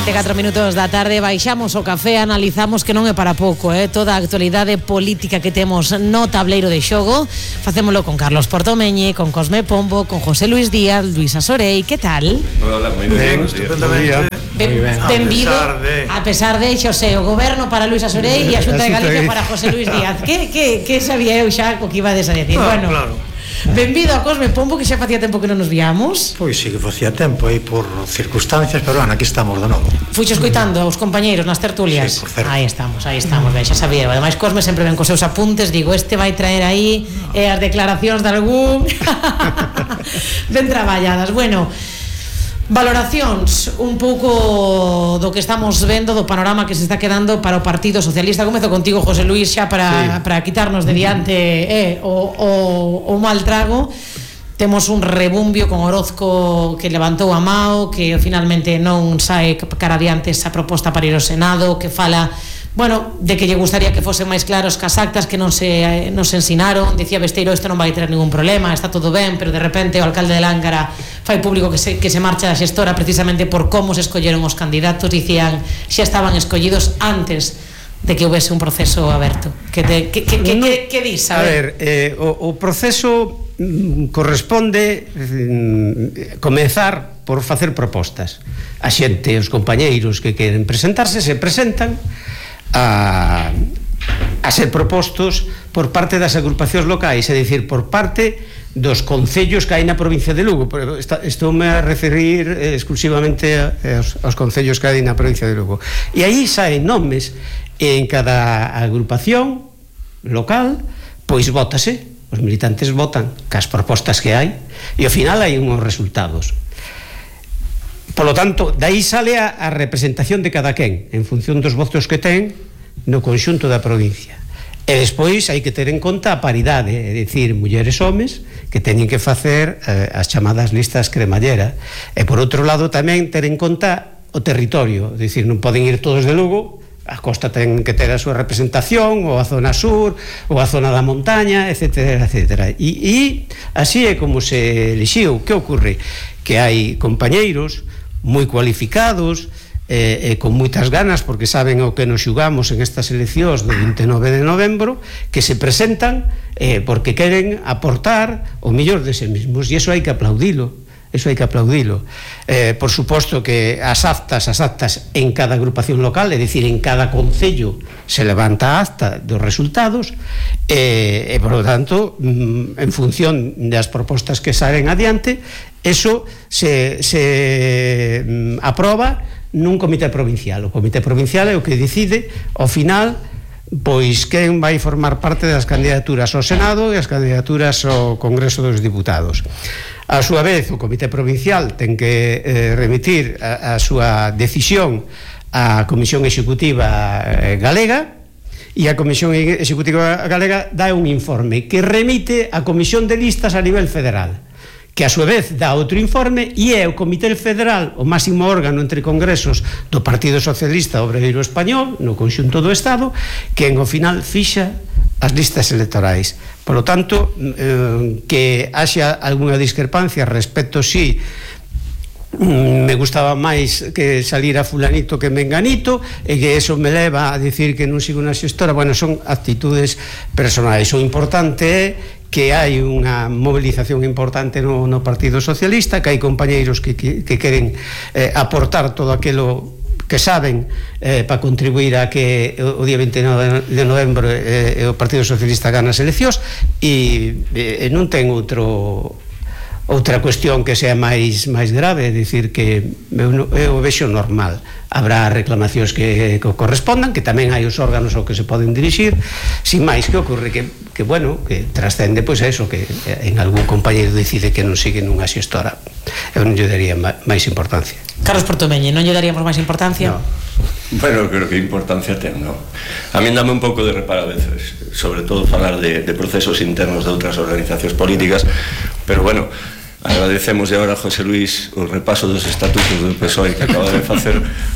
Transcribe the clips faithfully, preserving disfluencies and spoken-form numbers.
vinte e catro minutos da tarde, baixamos o café, analizamos que non é para pouco, eh? Toda a actualidade política que temos no tableiro de xogo. Facémolo con Carlos Portomeñe, con Cosme Pombo, con José Luis Díaz, Luisa Sorei. Que tal? Hola, moi ben, estupendamente. Benvido, a pesar de Xosé, o goberno para Luisa Sorei e a Xunta de Galicia para José Luis Díaz. Que, que, que sabía eu xa o que ibades a decir? Ah, bueno, claro. Benvido a Cosme Pombo, que xa facía tempo que non nos víamos. Pois sí que facía tempo aí por circunstancias, pero bueno, aquí estamos de novo. Fuixo escoitando aos compañeiros nas tertulias. Sí, por certo. Aí estamos, aí estamos, ben, xa sabía. Ademais, Cosme sempre ven cos seus apuntes. Digo, este vai traer aí eh, as declaracións de algún. Ben traballadas. Bueno, valoracións un pouco do que estamos vendo, do panorama que se está quedando para o Partido Socialista. Comezo contigo, José Luis, xa para, sí. para quitarnos de diante eh, o, o, o mal trago. Temos un rebumbio con Orozco que levantou a mao, que finalmente non sae cara adiante esa proposta para ir ao Senado, que fala, bueno, de que lle gustaría que fosen máis claros que as actas que non se, non se ensinaron. Dicía Besteiro, isto non vai ter ningún problema, está todo ben, pero de repente o alcalde de Lángara fai público que se, que se marcha da xestora precisamente por como se escolleron os candidatos. Dicían, xa estaban escollidos antes de que houvese un proceso aberto. Que, te, que, que, que, no, que, que dis? A ver, eh, o, o proceso mm, corresponde mm, comezar por facer propostas. A xente, os compañeiros que queren presentarse, se presentan a, a ser propostos por parte das agrupacións locais, é dicir, por parte dos concellos que hai na provincia de Lugo. Estou-me a referir eh, exclusivamente aos, aos concellos que hai na provincia de Lugo. E aí saen nomes en cada agrupación local, pois vótase, os militantes votan cas propostas que hai e ao final hai unhos resultados. Por lo tanto, dai sale a, a representación de cada quen en función dos votos que ten no conxunto da provincia. E despois hai que ter en conta a paridade, é dicir, mulleres e homes que teñen que facer eh, as chamadas listas cremallera. E por outro lado tamén ter en conta o territorio, é dicir, non poden ir todos de Lugo, a costa ten que ter a súa representación, ou a zona sur, ou a zona da montaña, etcétera, etcétera. E, e así é como se elixiu. Que ocorre? Que hai compañeiros moi cualificados, eh, eh, con moitas ganas, porque saben o que nos xugamos en estas eleccións do vinte e nove de novembro, que se presentan eh, porque queren aportar o mellor de sí mesmos, e iso hai que aplaudilo. Eso hai que aplaudilo. Eh, por suposto que as actas, as actas en cada agrupación local, é dicir, en cada concello se levanta a acta dos resultados e, e por lo tanto, en función das propostas que salen adiante, eso se, se aproba nun comité provincial. O comité provincial é o que decide, ao final, pois quen vai formar parte das candidaturas ao Senado e as candidaturas ao Congreso dos Diputados. A súa vez, o Comité Provincial ten que eh, remitir a, a súa decisión á Comisión Executiva eh, Galega, e a Comisión Executiva Galega dá un informe que remite á Comisión de Listas a nivel federal, que a súa vez dá outro informe, e é o Comité Federal, o máximo órgano entre congresos do Partido Socialista Obreiro Español, no conxunto do Estado, que en o final fixa as listas electorais. Por lo tanto, eh, que haxa algunha discrepancia respecto si me gustaba máis que salira fulanito que menganito, e que eso me leva a decir que non sigo unha xestora. Bueno, son actitudes personais. O importante é que hai unha movilización importante no, no Partido Socialista, que hai compañeiros que, que, que queren eh, aportar todo aquilo que saben eh, para contribuir a que o día vinte e nove de novembro eh, o Partido Socialista gana as eleccións, e, e non ten outro outra cuestión que sea máis máis grave, é dicir, que eu, eu vexo normal. Habrá reclamacións que, que correspondan, que tamén hai os órganos ao que se poden dirixir, sin máis. Que ocorre? Que, que bueno, que trascende pois a eso, que en algún compañeiro decide que non sigue nunha xestora. Eu non lle daría máis importancia. Carlos Portomeñe, non lle daríamos máis importancia? No. Bueno, creo que importancia ten, non? A mí dame un pouco de reparo a veces, sobre todo falar de, de procesos internos de outras organizacións políticas, pero bueno, agradecemos agora a José Luis o repaso dos estatutos do P S O E que acaba de facer,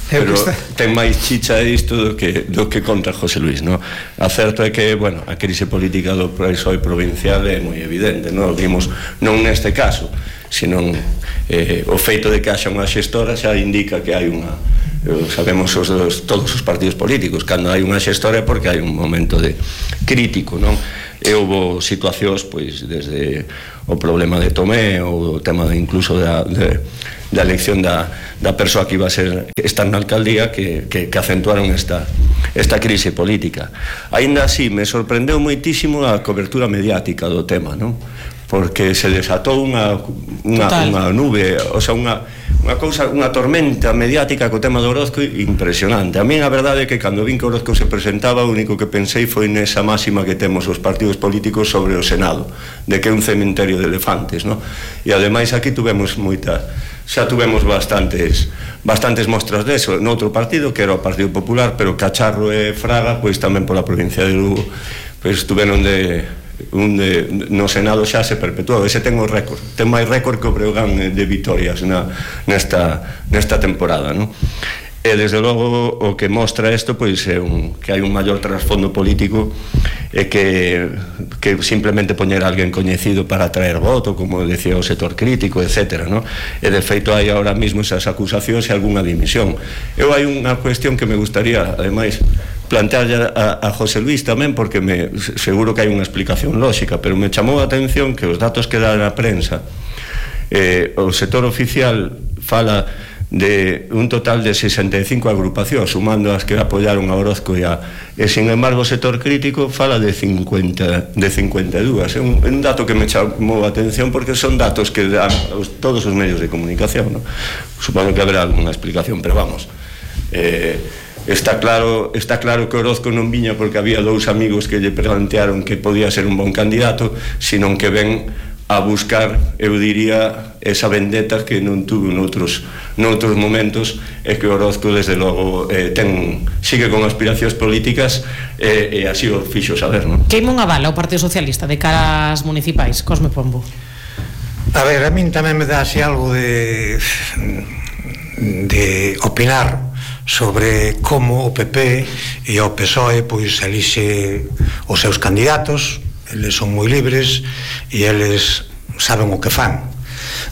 pero ten máis chicha isto do que, do que conta José Luis, non? A certo é que, bueno, a crise política do P S O E provincial é moi evidente, non? Vimos non neste caso, senón eh, o feito de que haxa unha xestora xa indica que hai unha sabemos os dos, todos os partidos políticos, cando hai unha xestora é porque hai un momento de crítico, non? E houve situacións, pois, desde o problema de Tomé ou o tema de, incluso da, de, da elección da, da persoa que iba a ser estar na alcaldía que, que, que acentuaron esta, esta crise política. Aínda así, me sorprendeu moitísimo a cobertura mediática do tema, non? Porque se desatou unha, unha, unha nube, o sea, unha, unha cousa, unha tormenta mediática co tema do Orozco impresionante. A mí a verdade é que cando vin que Orozco se presentaba, o único que pensei foi nesa máxima que temos os partidos políticos sobre o Senado, de que é un cementerio de elefantes, no? E ademais aquí tuvemos moita, xa tuvemos bastantes bastantes mostras deso noutro partido, que era o Partido Popular, pero Cacharro e Fraga, pois tamén pola provincia de Lugo, pois tuveron de un de, no Senado xa se perpetuou. Ese ten o récord, ten máis récord que o Breogán de vitorias na, nesta, nesta temporada, non? E desde logo o que mostra isto pois é un, que hai un maior trasfondo político e que, que simplemente poñer a alguén coñecido para atraer voto, como decía o sector crítico, etcétera, non? E de feito hai ahora mismo esas acusacións e algunha dimisión. Eu hai unha cuestión que me gustaría, ademais, plantear a, a José Luis tamén, porque me, seguro que hai unha explicación lógica, pero me chamou a atención que os datos que dá na prensa, eh, o sector oficial fala de un total de sesenta e cinco agrupacións, sumando as que apoyaron a Orozco e, a, e sin embargo o sector crítico fala de cincuenta, de cincuenta e dúas. É un, un dato que me chamou a atención porque son datos que dan os, todos os medios de comunicación, ¿no? Supoño que haberá alguna explicación, pero vamos, eh, está claro, está claro que Orozco non viña porque había dous amigos que lle plantearon que podía ser un bon candidato, sino que ven a buscar, eu diría, esa vendetta que non tuvo noutros, noutros momentos, e que Orozco desde logo eh, ten, sigue con aspiracións políticas e, e así o fixo saber, non? Que imón avala o Partido Socialista de cara ás municipais, Cosme Pombo? A ver, a min tamén me dá así algo de de opinar sobre como o P P e o P S O E pois elixe os seus candidatos. Eles son moi libres e eles saben o que fan.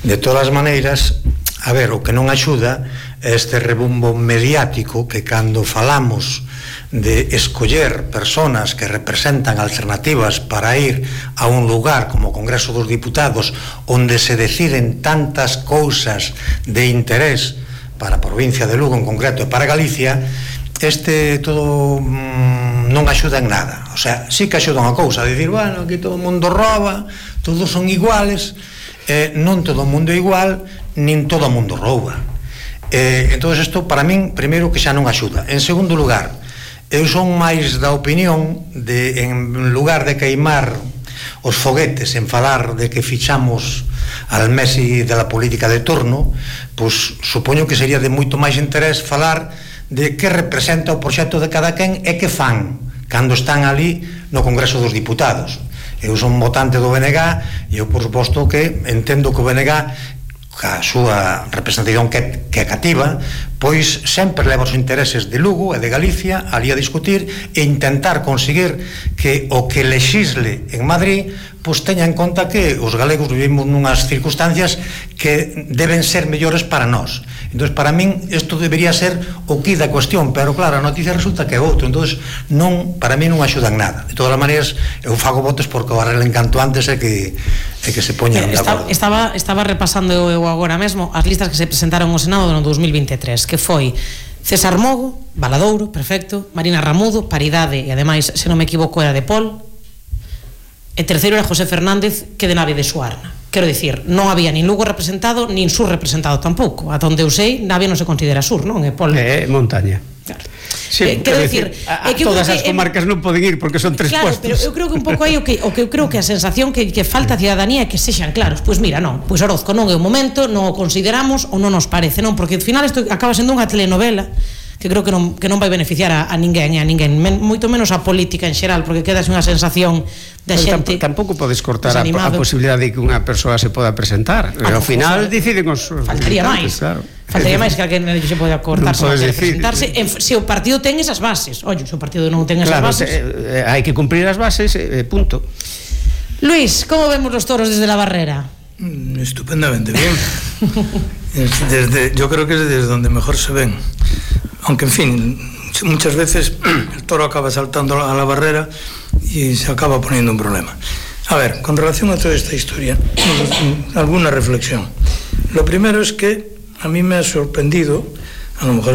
De todas as maneiras, a ver, o que non axuda é este rebumbo mediático que cando falamos de escoller personas que representan alternativas para ir a un lugar como o Congreso dos Diputados onde se deciden tantas cousas de interés para a provincia de Lugo en concreto e para Galicia, este todo mmm, non axuda en nada. O sea, sí que axuda unha cousa, a dicir, bueno, aquí todo o mundo rouba, todos son iguales, eh, non todo o mundo é igual, nin todo o mundo rouba. Eh, entón, isto para min, primeiro, que xa non axuda. En segundo lugar, eu son máis da opinión de, en lugar de queimar os foguetes en falar de que fichamos al Messi de la política de turno, pois supoño que sería de moito máis interés falar de que representa o proxecto de cada quen e que fan cando están ali no Congreso dos Diputados. Eu son votante do B N G e eu, por suposto, que entendo que o B N G, a súa representación que, que é cativa, pois sempre leva os intereses de Lugo e de Galicia ali a discutir e intentar conseguir que o que lexisle en Madrid pois teña en conta que os galegos vivimos nunhas circunstancias que deben ser mellores para nós. Entón, para min, isto debería ser o que da cuestión, pero claro, a noticia resulta que é outro. Entón, non, para mí non axuda en nada. De todas as maneiras, eu fago votos porque o arreglen canto antes é que, é que se poñan de acordo. Estaba, estaba repasando eu agora mesmo as listas que se presentaron ao Senado no dos mil vinte e tres, que foi César Mogo, Valadouro, perfecto, Marina Ramudo, Paridade, e ademais, se non me equivoco, era de Pol, e terceiro era José Fernández, que de Navia de Suarna. Quero dicir, non había nin Lugo representado, nin Sur representado tampouco. A donde eu sei, Navia non se considera Sur, non? É Pol. É montaña. Claro. Sí, eh, quero dicir, a, a que todas as comarcas non poden ir porque son tres claro, puestos. Pero eu creo que un pouco aí o que, o que eu creo que a sensación que, que falta a ciudadanía é que sexan claros. Pois mira, non, pois Orozco non é o momento, non o consideramos ou non nos parece, non, porque ao final isto acaba sendo unha telenovela que creo que non, que non vai beneficiar a, a ninguén, a ninguén, men, moito menos a política en xeral, porque queda unha sensación da xente. Tampouco podes cortar a, a posibilidade de que unha persoa se poda presentar. Ah, ao final deciden os faltaría máis, claro. Faltaría máis que alguén se pode cortar no se presentarse en, se o partido ten esas bases. Oye, se o partido non ten esas claro, bases, eh, hai que cumprir as bases, eh, punto. Luis, como vemos los toros desde la barrera? Mm, estupendamente bien. Desde, yo creo que es desde donde mejor se ven. aunque en fin, muchas veces el toro acaba saltando a la barrera y se acaba poniendo un problema. A ver, con relación a toda esta historia, alguna reflexión. Lo primero es que a mí me ha sorprendido, a lo mejor